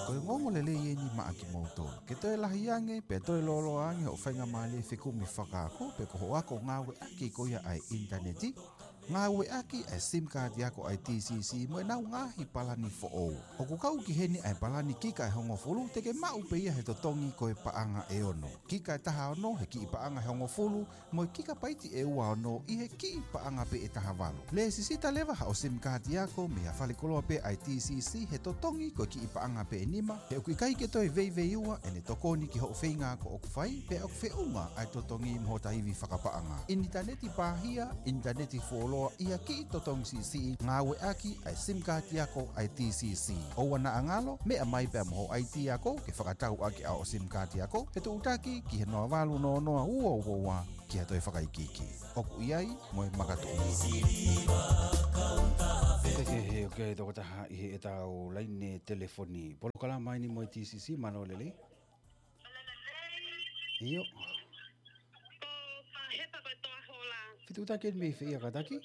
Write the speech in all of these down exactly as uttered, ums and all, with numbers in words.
Ko e ongoongo lelei eni maʻa kimoutolu. Ke toe lahi ange, pea toe lōloa ange hoʻo faingamālie fekumi fakaako, pe ko hoʻo ako ngāueʻaki ko ia ʻa e ʻinitaneti, ngāueʻaki ʻa e SIM kaati ako ʻa e TCC mo ʻenau ngaahi palani foʻou. ʻOku kau ki heni ʻa e palani kika ʻe hongofulu, te ke maʻu pē ia he totongi ko e paʻanga ʻe ono. Kika ʻe taha ono he kiʻi paʻanga ʻe hongofulu, mo e kika paiti ʻe ua ono ʻi he kiʻi paʻanga pē ʻe taha valu. Lēsisita leva haʻo SIM kaati ako mei ha falekoloa pē ʻa e TCC he totongi ko e kiʻi paʻanga pē ʻe nima, he ʻoku ʻikai ke toe veiveiua ʻene tokoni ki hoʻo feinga ako ʻoku fai, pea ʻoku feʻunga ʻa e totongi mo hota ivi fakapaʻanga. ʻInitaneti pāhia, ʻinitaneti fuoloa ʻi ha kiʻi totongi siʻisiʻi, ngāueʻaki ʻa e SIM kaati ako ʻa e TCC. ʻOua naʻa ngalo, meʻa mai pea mo hoʻo ID ako ke fakatau ʻaki ʻa hoʻo SIM kaati ako, fetuʻutaki ki he noa valu noa noa ua ua ua ki ha toe fakaikiiki. ʻOku ʻi ai mo e makatuʻunga. Ke ke he, ʻoku ʻi ai e tokotaha ʻi heʻetau laine telefoni. Polokalama eni mo e TCC, mālō e lelei. ʻIo. Ko Fahepa ko e toa hola. Fetuʻutaki eni mei fē ia kātaki?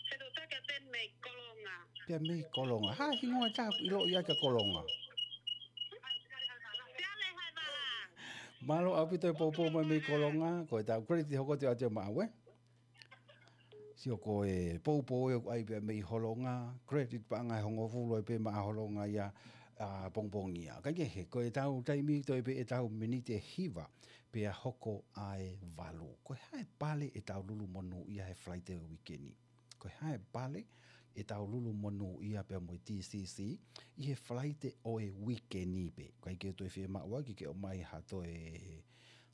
Fetuʻutaki atu eni mei Kolonga. Pea mei Kolonga. Hā e hingoa ʻe taha ʻoku ʻiloʻi ai ka Kolonga? Pea le hai vala. Mālō ʻaupito e poupou mai mei Kolonga, ko ʻetau credit hoko atu ia maʻau ē. Sio ko e poupou ē ʻoku ʻai pē ia mei Holonga, credit paʻanga ʻe hongofulu ai pē maʻa Holonga ia, ʻa, pongipongi ia. Kae kehe, ko ʻetau taimi toe pē ʻetau miniti ʻe hiva, pea hoko ʻa e valu. Ko e hā e pale ʻetau lulu monūʻia he Falaite ʻo e uike ni? Ko e hā e pale ʻetau lulu monūʻia pea mo e TCC ʻi he Falaite ʻo e uike ni pē? ʻIkai ke toe fiemaʻu ʻaki ke ʻomai ha toe,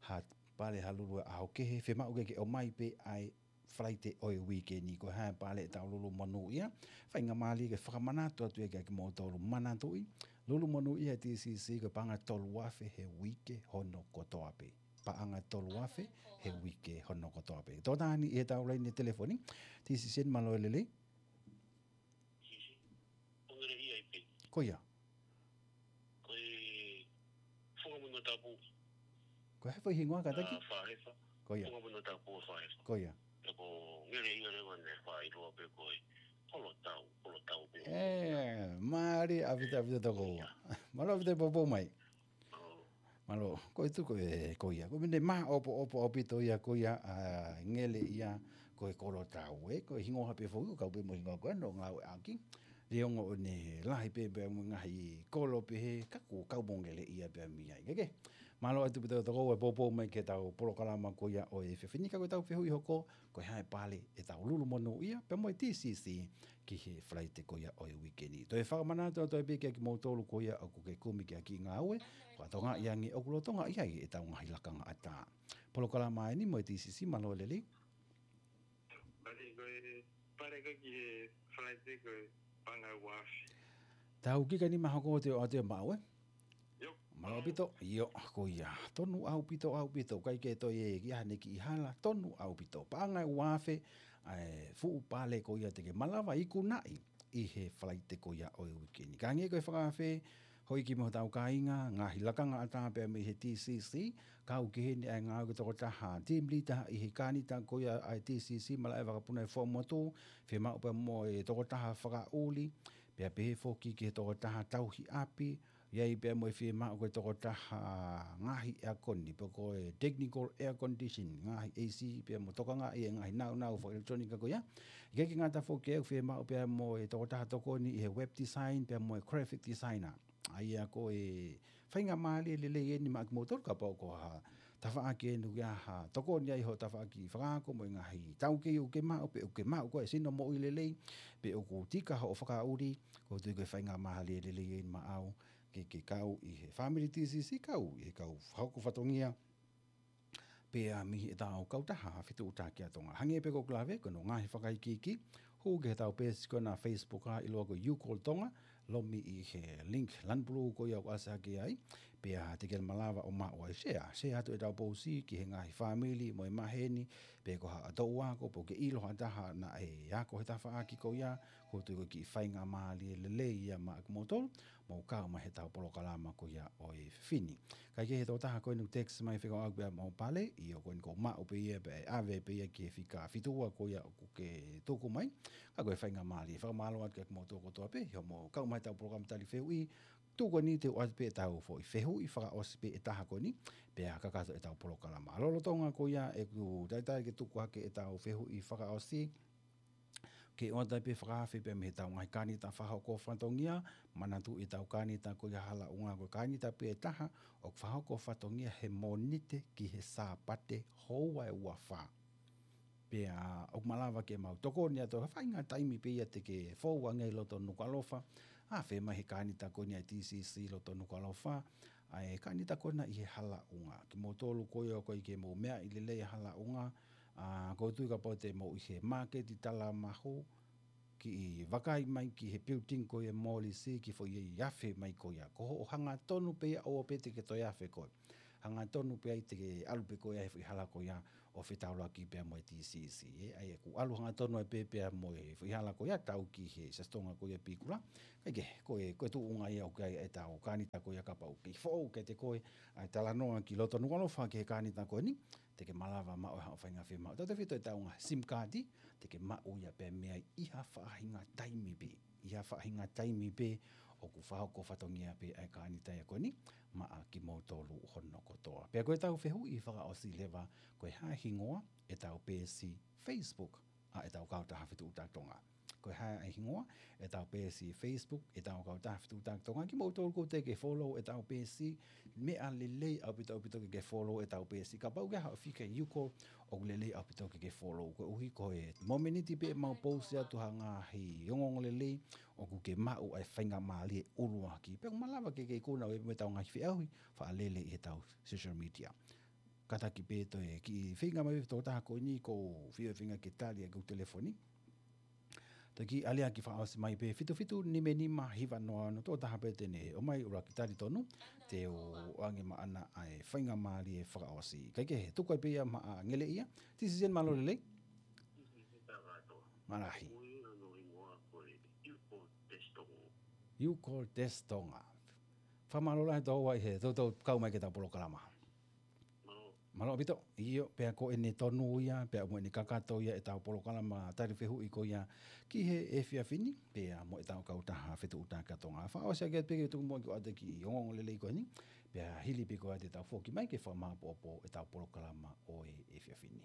ha pale ha lulu ʻaho kehe, fiemaʻu ke ke ʻomai pē ʻa e Falaite ʻo e uike ni. Ko e hā e pale ʻetau lulu monūʻia? Faingamālie ke fakamanatu atu ia kiate kimoutolu. Manatuʻi, lulu monūʻia ʻa e TCC ko e paʻanga ʻe tolu afe he uike hono kotoa pē. Paʻanga ʻe tolu afe he uike hono kotoa pē. Tokotaha eni ʻi heʻetau laine telefoni. TCC, mālō e lelei. Sisi. Ko e ngeleʻi ai pē. Ko ia. Ko e Funga Mono Tapu. Ko e hā e foʻi hingoa kātaki? ʻA Fahepa. Ko ia. Funga Mono Tapu ʻa Fahepa. Ko ia. Pea ko e ngeleʻi ʻa e leva ne faʻa ʻiloa pē ko e Kolotau, Kolotau pē. ʻE, mālie ʻaupito ʻaupito tokoua. Mālō ʻaupito e poupou mai. ʻO. Mālō, ko e tuʻu ko ē ko ia. Ko e meʻa ne māʻopoʻopo ʻaupito ia ko ia, ʻa, ngeleʻi ia ko e Kolotau, ē. Ko e hingoa pē foʻou, kau pē mo e hingoa ko ē ʻoku ngāueʻaki. Liongo ʻo ne lahi pē pea mo e ngaahi kolo pehē, ka kuo kau mo ngeleʻi ia pea mei ai. Ke ke. Mālō atu pē tokoua e poupou mai ki heʻetau polokalama ko ia ʻo e efiafi ni, ka ko ʻetau fehuʻi hoko, ko e hā e pale ʻetau lulu monūʻia pea mo e TCC ki he Falaite ko ia ʻo e uike ni. Toe fakamanatu atu pē kiate kimoutolu ko ia ʻoku ke kumi ki ha kiʻi ngāue, fakatokangaʻi ange ʻoku lolotonga ʻi ai ʻetau ngaahi lakanga ʻatā. Polokalama eni mo e TCC, mālō e lelei. Pale ko e, pale ko e ki he Falaite ko e paʻanga ʻe ua afe. Tau kika ni mahoko ʻo te ʻo te maʻu ē? ʻIo. Mālō ʻaupito, ʻio, ko ia. Tonu ʻaupito, ʻaupito, ʻikai ke toe ʻi ai ha kiʻi hala, tonu ʻaupito. Paʻanga ʻe ua afe, ʻa e fuʻu pale ko ia te ke malava ikunaʻi ʻi he Falaite ko ia ʻo e uike ni. Ka hangē ko e fakaafe, hoi ki mo hotau kāinga, ngaahi lakanga ʻatā pea mei he TCC, kau ki heni ʻa e ngāue ko e tokotaha team leader ʻi he kānita ko ia ʻa e TCC, malaʻe vakapuna ʻi Fuaʻamotu, fiemaʻu pea mo e tokotaha fakaʻuli, pea pehē foki ki he tokotaha tauhi ʻapi, ʻi ai pea mo e fiemaʻu ko e tokotaha ngaahi air con, pe ko e technical air condition, ngaahi AC, pea mo tokangaʻi e ngaahi nāunau fakaʻelekitulōnika ko ia. ʻIkai ke ngata foki ʻoku fiemaʻu pea mo e tokotaha tokoni ʻi he web design, pea mo e graphic designer. ʻA ia ko e faingamālie lelei eni maʻa kimoutolu kapau ko ha tafaʻaki eni ʻoku ʻi ai ha tokoni ai hoʻo tafaʻaki fakaako mo e ngaahi taukei ʻoku ke maʻu pe ʻoku ke maʻu ko e sino moʻui lelei, pe ʻoku tika hoʻo fakaʻuli, ʻoku ou tui ko e faingamālie lelei eni maʻau ke, ke kau ʻi he family TCC, kau ʻi he kau fakahoko fatongia, pea mei heʻetau kautaha fetuʻutaki ʻa Tonga. Hangē pē ko ʻeku lave, ko hono ngaahi fakaikiiki, hū ki heʻetau peesi ko ena Facebook ʻa ʻiloa ko e You Call Tonga, lomi ʻi he link lanu pulū ko ia ʻoku ʻasi hake ai, pea te ke malava ʻo maʻu ai, share, share atu ʻetau pousi ki he ngaahi fāmili mo e maheni, pe ko ha toʻu ako, pe ʻoku ke ʻilo ha taha naʻe ako he tafaʻaki ko ia, ʻoku ou tui ko e kiʻi faingamālie lelei ia maʻa kimoutolu, mou kau mai heʻetau polokalama ko ia ʻo e efiafi ni. Kae kehe, tokotaha ko eni text mai fekauʻaki pea mo e pale, ʻio, ko eni ʻoku maʻu pē ia pea ʻave pē ia ki he fika fitu ua ko ia ʻoku ke tuku mai. Ka ko e faingamālie, fakamālō atu kiate kimoutolu kotoa pē, ʻio, mou kau mai heʻetau polokalama tali fehuʻi, tuʻu ko eni te u ʻoatu pē ʻetau foʻi fehuʻi fakaʻosi pē ʻe taha ko eni, pea kakato ʻetau polokalama. Lolotonga ko ia ʻeku talitali ke tuku hake ʻetau fehuʻi fakaʻosi, ke ʻoatu pē fakaafe pē mei heʻetau ngaahi kānita fakahoko fatongia, manatuʻi ʻetau kānita ko ia hala ʻunga ko e kānita pē ʻe taha ʻoku fakahoko fatongia he Mōnite ki he Sāpate houa ʻe ua fā. Pea ʻoku malava ke mau tokoni atu ha faʻahinga taimi pē ia te ke fou ange ʻi loto Nukuʻalofa, afe mai he kānita ko eni ʻa e T C C loto Nukuʻalofa, ʻa e kānita ko ena ʻi he hala ʻunga. Kimoutolu ko ia ʻoku ʻikai ke mou meaʻi lelei hala ʻunga, ʻa, ʻoku ou tui kapau te mou ʻi he māketi Talamahu, kiʻi vakai mai ki he building ko ia Mōlisi, kiʻi foʻi afe mai ko ia. Ko hoʻo hangatonu pē ia ʻoua pē te ke toe afe koe. Hangatonu pē ai te ke ʻalu pē koe ʻi he foʻi hala ko ia ʻo fetaulaki pea mo e T C C, ē. ʻA ia ʻoku ʻalu hangatonu ai pē pea mo e foʻi hala ko ia tau ki he Siasi Tonga ko ia Pikula. Kae kehe, ko e, ko e tuʻunga ia ʻoku ʻi ai ʻetau kānita ko ia kapau ʻoku ke foʻou kiate koe ʻa e talanoa ki loto Nukuʻalofa ki he kānita ko eni, te ke malava maʻu haʻo faʻahinga fiemaʻu. Tautautefito ʻetau ngaahi SIM kaati, te ke maʻu ia pē mei ai ʻi ha faʻahinga taimi pē. ʻI ha faʻahinga taimi pē ʻoku fakahoko fatongia pē ʻa e kānita ia ko eni, maʻa kimoutolu hono kotoa. Pea ko ʻetau fehuʻi fakaʻosi leva, ko e hā e hingoa ʻetau peesi Facebook ʻa ʻetau kautaha Fetuʻutaki Tonga. Ko e hā e hingoa ʻetau peesi Facebook ʻetau kautaha Fetuʻutaki Tonga. Kimoutolu ʻoku teʻeki ke follow ʻetau peesi, meʻa lelei ʻaupito ʻaupito ke ke follow ʻetau peesi. Kapau ʻoku ʻi ai haʻo fika ʻi Youcall, ʻoku lelei ʻaupito ke ke follow. Koeʻuhi ko e momeniti pē mau post atu ha ngaahi ongoongo lelei, ʻoku ke maʻu ʻa e faingamālie ʻuluaki. Pea ʻoku malava ke ke ikuna ʻo e mo ʻetau ngaahi feʻauhi faʻa lele ʻi heʻetau social media. Kātaki pē toe kiʻi feinga mai pē tokotaha ko eni ʻoku ou fie feinga ke tali ʻaki ʻeku telefoni. Toe kiʻi aliʻaki fakaʻosi mai pē fitu fitu nima nima hiva noa noa, tokotaha pē te ne ʻomai ʻuluaki tali tonu, te u ʻoange maʻana ʻa e faingamālie fakaʻosi. Kae kehe, tuku ai pē ia maʻa Ngeleʻia. T C C, mālō e lelei. Mālō lahi. Youcall Desk Tonga. Fakamālō lahi ʻetau ʻi he toutou kau mai ki heʻetau polokalama. Mālō ʻaupito, ʻio, pea ko ʻene tonu ia, pea mo ʻene kakato ia ʻetau polokalama tali fehuʻi ko ia ki he efiafi ni, pea mo ʻetau kautaha Fetuʻutaki Tonga. Fakaʻosi ʻaki pē ke tuku muʻa ke ʻoatu e kiʻi ongoongo lelei ko eni, pea hili pē ko ia te tau foki mai ke fakamāʻopoʻopo ʻetau polokalama ʻo e efiafi ni.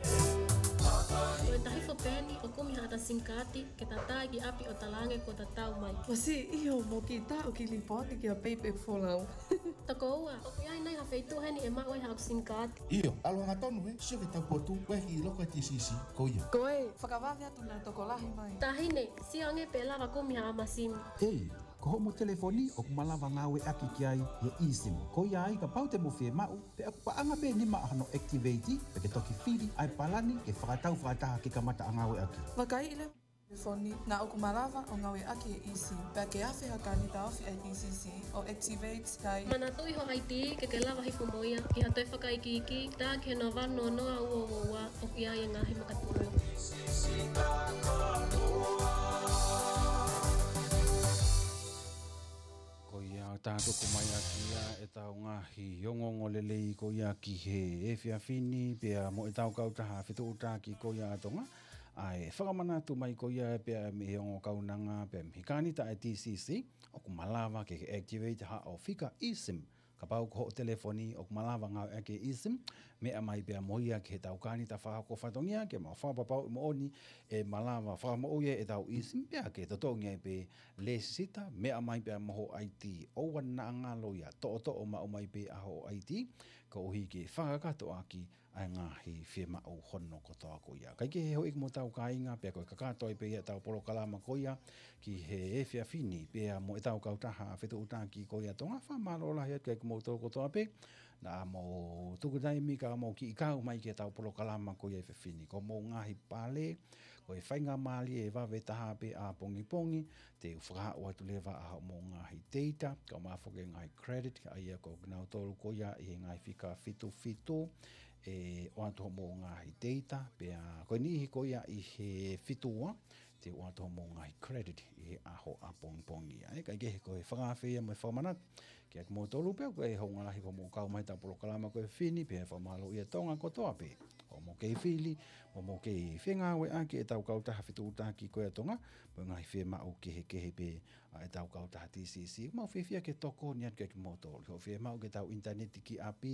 Ko e tahi fo peni ʻo kumi haʻata SIM kaati ke tatā ki ʻapi ʻo talaange kuo tatau mai. Masi, ʻio, mo ki taʻu ki lipooti kia Payback Folau. Tokoua, ʻoku ʻi ai nai ha feituʻu heni ʻe maʻu ai haʻaku SIM kaati? ʻIo, ʻalu hangatonu ē, sio ki he taupotu, ʻoku ʻi loto ʻa e T C C ko ia. Ko e, fakavave atu naʻa tokolahi mai. Taʻahine, sio ange pe ʻe lava kumi haʻama SIM. ʻEi, ko hoʻomo telefoni ʻoku malava ngāueʻaki ki ai ʻa e eSIM. Ko ia ai kapau te mo fiemaʻu, pea ʻoku paʻanga pē nima ʻa hono activate, pea ke toki fili ʻa e palani ke fakatau fakataha ke kamata ʻa ngāueʻaki. Vakai ʻi he telefoni, naʻa ʻoku malava ʻo ngāueʻaki e eSIM, pea ke afe ha kānita ofi ʻa e T C C ʻo activate ai. Manatuʻi ho ID ke ke lava hifo mo ia, ʻi ha toe fakaikiiki, tā ki he noa valu noa noa ua ua ua, ʻoku ʻi ai e ngaahi makatuʻunga. Ko ia ʻoku tau tuku mai ʻaki ia ʻetau ngaahi ongoongo lelei ko ia ki he efiafi ni, pea mo ʻetau kautaha Fetuʻutaki ko ia ʻa Tonga, ʻa e fakamanatu mai ko ia pea mei he ongo kaunanga, pea mei he kānita ʻa e T C C, ʻoku malava ke ke activate haʻo fika eSIM. Kapau ko hoʻo telefoni ʻoku malava ngāueʻaki e eSIM, meʻa mai pea mo ia ki heʻetau kānita fakahoko fatongia, ke mau fakapapauʻi moʻoni ʻe malava fakamoʻui ʻetau eSIM, pea ke totongi ai pē lēsisita, meʻa mai pea mo ho ID, ʻoua naʻa ngalo ia, toʻotoʻo maʻu mai pē ʻa ho ID, koeʻuhi ke fakakakato ʻaki ʻa e ngaahi fiemaʻu hono kotoa ko ia. Kae kehe, houʻeiki mo hotau kāinga, pea ko e kakato ai pē ia ʻetau polokalama ko ia ki he efiafi ni, pea mo ʻetau kautaha Fetuʻutaki ko ia Tonga. Fakamālō lahi atu kiate kimoutolu kotoa pē naʻa mou tuku taimi kae mou kiʻi kau mai ki heʻetau polokalama ko ia he efiafi ni. Ko hoʻomou ngaahi pale, ko e faingamālie ʻe vave taha pē ʻapongipongi, te u fakahā atu leva ʻa hoʻomou ngaahi data, kae ʻumaʻā foki e ngaahi credit, ʻa ia ko kinautolu ko ia ʻi he ngaahi fika fitu fitu, ʻe ʻoatu hoʻomou ngaahi data, pea ko e niʻihi ko ia ʻi he fitu ua, te u ʻoatu hoʻomou ngaahi credit ʻi he ʻaho ʻapongipongi. ʻA ia, kae kehe, ko e fakaafe ia mo e fakamanatu kiate kimoutolu pē, ko e hounga lahi ko hoʻomou kau mai heʻetau polokalama ko e efiafi ni, pea fakamālō ʻi Tonga kotoa pē ʻo mou kei fili, mo mou kei fengāueʻaki ʻetau kautaha fetuʻutaki ko ia ʻa Tonga, mo e ngaahi fiemaʻu kehekehe pē ʻa ʻetau kautaha T C C. Mau fiefia ke tokoni atu kiate kimoutolu. Hoʻo fiemaʻu ke tau ʻinitaneti ki ʻapi,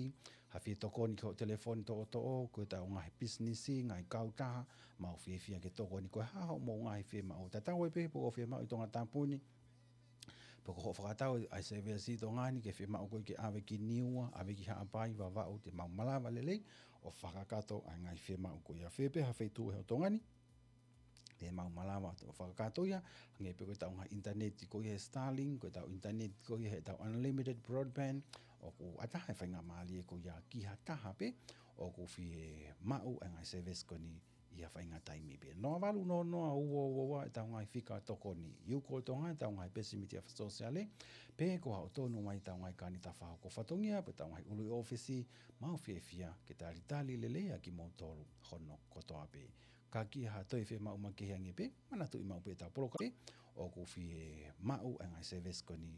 ha fie tokoni ki hoʻo telefoni toʻotoʻo, ko ʻetau ngaahi pisinisi, ngaahi kautaha, mau fiefia ke tokoni ko e hā hoʻomou ngaahi fiemaʻu. Tatau ai pē pe ko hoʻo fiemaʻu ʻi Tongatapu ni, pe ko hoʻo fakatau ʻa e service ʻi Tonga ni ke fiemaʻu koe ke ʻave ki Niua, ʻave ki Haʻapai, Vavaʻu, te mau malava lelei ʻo fakakakato ʻa e ngaahi fiemaʻu ko ia. Fē pē ha feituʻu ʻi Tonga ni, te mau malava ʻo fakakakato ia, hangē pē ko ʻetau ngaahi ʻinitaneti ko ia he Starlink, ko ʻetau ʻinitaneti ko ia heʻetau unlimited broadband, ʻoku ʻatā e faingamālie ko ia ki ha taha pē ʻoku fiemaʻu ʻa e ngaahi service ko eni ʻi ha faʻahinga taimi pē. Noa valu noa noa ua ua ua ʻetau ngaahi fika tokoni. ʻI he ʻū ko Tonga ʻetau ngaahi pesimiti fakasōsiale, pe ko haʻo tonu mai ʻetau ngaahi kāinga tafaʻaki fatongia, pe ʻetau ngaahi ʻulu ʻi ʻōfisi, mau fiefia ke talitali lelei ʻa kimoutolu hono kotoa pē. Ka ki ha toe fiemaʻu makehe ange pē, manatuʻi maʻu pē ʻetau polokalama ʻoku fiemaʻu ʻa e ngaahi service ko eni